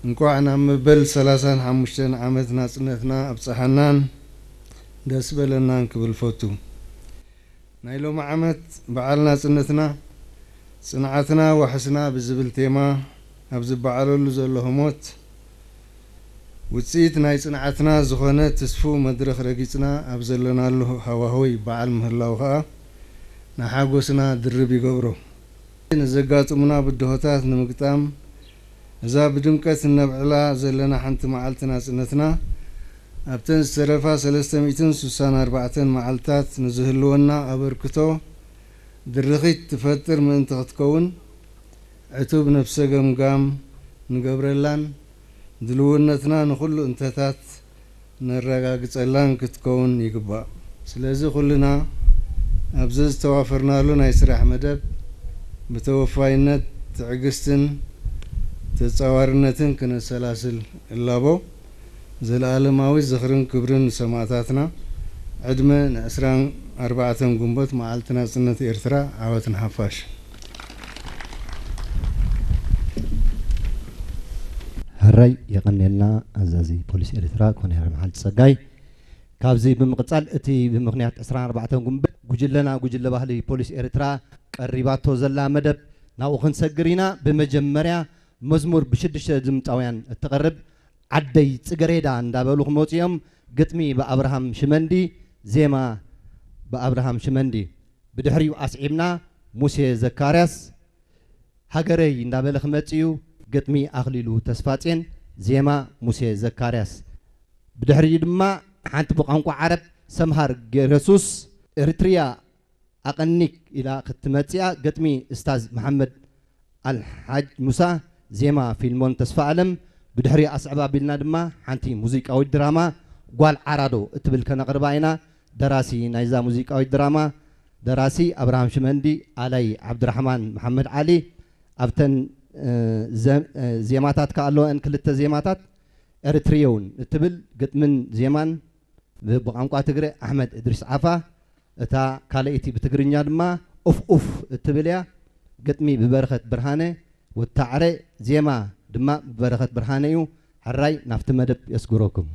እንኳዕ ናብ መበል ሰላሳን ሓሙሽተን ዓመት ናጽነትና ኣብጽሓናን ደስ በለናን ክብል ፈቱ። ናይ ሎሚ ዓመት በዓል ናጽነትና ጽንዓትና ዋሕስና ብዝብል ቴማ ኣብ ዝበዓለሉ ዘሎ ህሞት፣ ውጽኢት ናይ ጽንዓትና ዝኾነ ትስፉ መድረኽ ረጊጽና ኣብ ዘለናሉ ሃዋህው በዓል ምህላው ከኣ ንሓጎስና ድርብ ይገብሮ። ንዘጋጥሙና ብድሆታት ንምግጣም፣ እዛ ብድምቀት እነብዕላ ዘለና ሓንቲ መዓልቲ ናጽነትና፣ ኣብተን ዝተረፋ ሰለስተ ሚእትን ስሳን ኣርባዕተን መዓልታት ንዝህልወና ኣበርክቶ ድርኺት ትፈጥር ምእንቲ ክትከውን፣ ዕቱብ ነፍሰ ገምጋም ንገብረላን ድልውነትና ንኹሉ እንተታት ነረጋግጸላን ክትከውን ይግባእ። ስለዚ ኩልና ኣብዚ ዝተዋፈርናሉ ናይ ስራሕ መደብ ብተወፋይነት፣ ትዕግስትን ተጻዋርነትን ክነሰላስል እላቦ። ዘለኣለማዊ ዝኽርን ክብርን ንሰማእታትና። ዕድመ ንዕስራን ኣርባዕተን ግንቦት መዓልቲ ናጽነት ኤርትራ። ዓወት ንሓፋሽ። ሕራይ የቐንየልና ኣዛዚ ፖሊስ ኤርትራ ኮኔራል መሓልቲ ጸጋይ። ካብዚ ብምቕጻል እቲ ብምኽንያት ዕስራን ኣርባዕተን ግንቦት ጉጅለና ጉጅለ ባህሊ ፖሊስ ኤርትራ ቀሪባቶ ዘላ መደብ ናብኡ ክንሰግር ኢና። ብመጀመርያ መዝሙር ብሽዱሽተ ድምጻውያን እትቐርብ ዓደይ ጽገሬዳ እንዳበሉ ክመጹ እዮም። ግጥሚ ብኣብርሃም ሽመንዲ፣ ዜማ ብኣብርሃም ሽመንዲ። ብድሕሪኡ ኣስዒብና ሙሴ ዘካርያስ ሃገረይ እንዳበለ ክመጽእ እዩ። ግጥሚ ኣኽሊሉ ተስፋጼን፣ ዜማ ሙሴ ዘካርያስ። ብድሕሪኡ ድማ ሓንቲ ብቋንቋ ዓረብ ሰምሃር ገረሱስ ኤርትርያ ኣቐኒክ ኢላ ክትመጽእ እያ። ግጥሚ እስታዝ መሓመድ ኣልሓጅ ሙሳ፣ ዜማ ፊልሞን ተስፋኣለም። ብድሕሪኡ ኣስዕብ ኣቢልና ድማ ሓንቲ ሙዚቃዊት ድራማ ጓል ዓራዶ እትብል ከነቕርባ ኢና። ደራሲ ናይዛ ሙዚቃዊት ድራማ ደራሲ ኣብርሃም ሽመንዲ፣ ኣላይ ዓብድራሕማን መሓመድ ዓሊ። ኣብተን እ፣ ዘ- እ፣ ዜማታት ከኣ ኣለወን ክልተ ዜማታት ኤርትሪዮን እትብል ግጥምን ዜማን ብ- ብቋንቋ ትግረ ኣሕመድ እድሪስ ዓፋ። እታ ካልኣይቲ ብትግርኛ ድማ ኡፍ ኡፍ እትብል እያ። ግጥሚ ብበረኸት ብርሃነ ወታዕረ፣ ዜማ ድማ ብበረኸት ብርሃነ እዩ። ሕራይ ናብቲ መደብ የስግረኩም።